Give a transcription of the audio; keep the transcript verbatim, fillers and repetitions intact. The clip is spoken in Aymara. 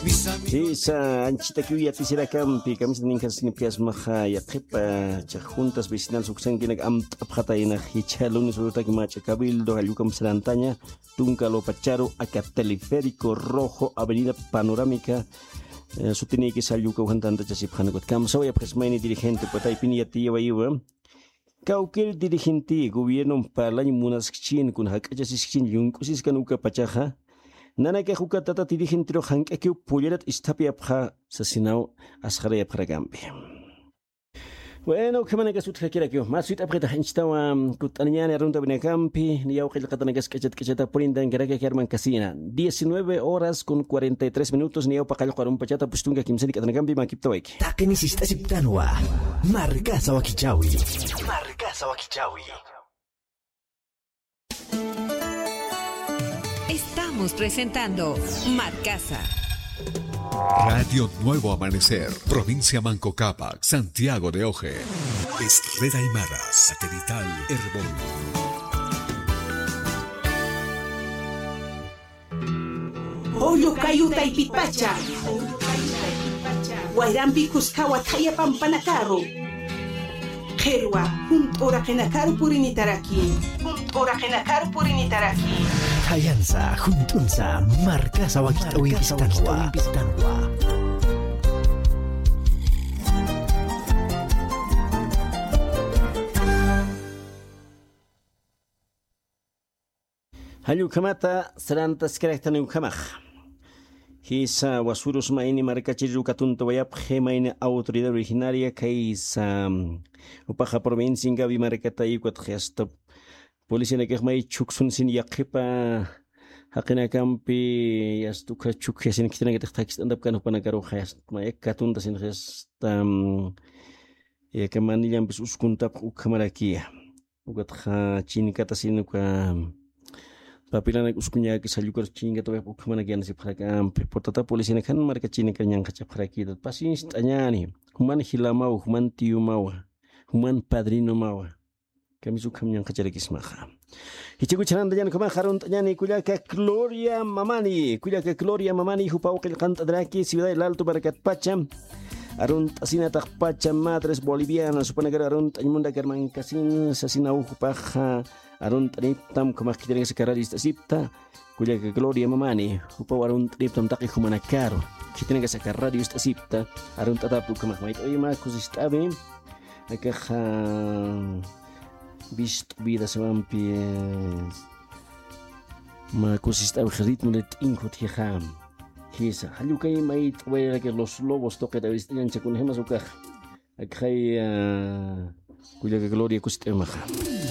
Jisa, anchitakiw yatisirakampi, kamisninkasinipkasmaxa yaqhipa, chaxuntas vecinal suksankinak amt'apxataynax, jichha lunes urutaki mach'a cabildo, jallukam sarantaña, tunka lopacharu, aka teleférico rojo, avenida panorámica, eh, sutiniki salluka ujan tantachasipxanakut. Kamsawayapxis mayni dirigente, pataypin yatiyawayiwa. Kawkir dirigente gobiernon parlañ munaskchin kun jak'achasiskchin llunk'usiskan uka pachaxa. Nanakax uka tata dirigenterux jank'akiw pullarat isthapiyapxa sasinaw asxarayapxarakampi. Bueno, ukhamanakas utjakirakiw. Mä suyt'apxitax inchtawa kutt'aniñäni aruntawinakampi, niyaw qillqatanakas k'achat k'achata purintankarakaki armankasina. Diecinueve horas con cuarenta y tres minutos, niyaw paqallqu arumpachata pustunka kimsani k'atanakampi makiptawayki. Taqini sist'asiptanwa. Markasa wakichawi. Markasa wakichawi. Estamos presentando Markasa. Radio Nuevo Amanecer, provincia Manco Cápac, Santiago de Oje. Es Red Aymara, satelital Erbol. Pollo kayu taypipacha. Wayrampi kuskawa thaya pampanakaru. Qhirwa, junt'u uraqinakaru purinitaraki. Junt'u uraqinakaru purinitaraki. Thayansa, junt'unsa, markasa wakit'awimpistanwa. Jall ukhamata sarantaskaraktan ukhamax. Jisa, wasurus mayni markachiriru katuntawayapxi, mayni autoridad originaria, khaysa, upaxa provincia Ingavi markatay, ukatxa hasta policianakax may chhuksun sin yaqhipa jaqinakampi, hasta ukha chhukja sin khitinakatix thakist'antapkan jupanakaruxa, hasta may katunta sin hasta, mm, yaka manillampis uskuntapx ukhamarakiya. Ukatxa chinkata sin uka papilanak uskuñäki sallukar chinkata wayap ukhamanaki yanasipxarakampi. Purtata policianak jan marka chinka ñanqhachapxarakïtat. Pacienciat'añäni. Juman jilamawa, juman tiyumawa, juman padrinomawa. Kamis ukham ñanqhacharakismaxa. Jichhaku chhanantañäni ukhamax arunt'añäni kullaka Gloria Mamani. Kullaka Gloria Mamani jupaw qillqant'ataraki Ciudad del Alto markatpacha. Arunt'asinatax pacha madres bolivianas, jupanakar arunt'añ muntakarmankasin sasinaw jupaxa, arunt'aniptam ukhamax khitinakasa aka radio ist'asipta, kullaka Gloria Mamani, jupaw arunt'aniptam taqi jumanakaru, khitinakasa aka radio ist'asipta, arunt'atapta ukhamax mayt'awima kusist'awi, akaxa, bist'u vida sawampi, ma kusist'awi ritmo de t'injut jixa. Jisa, jallukay mayt'awayaraki Los Lobos tuqit awist'añancha kunajimas ukax. Akxay, ah, kullaka Gloria kusist'awimaxa.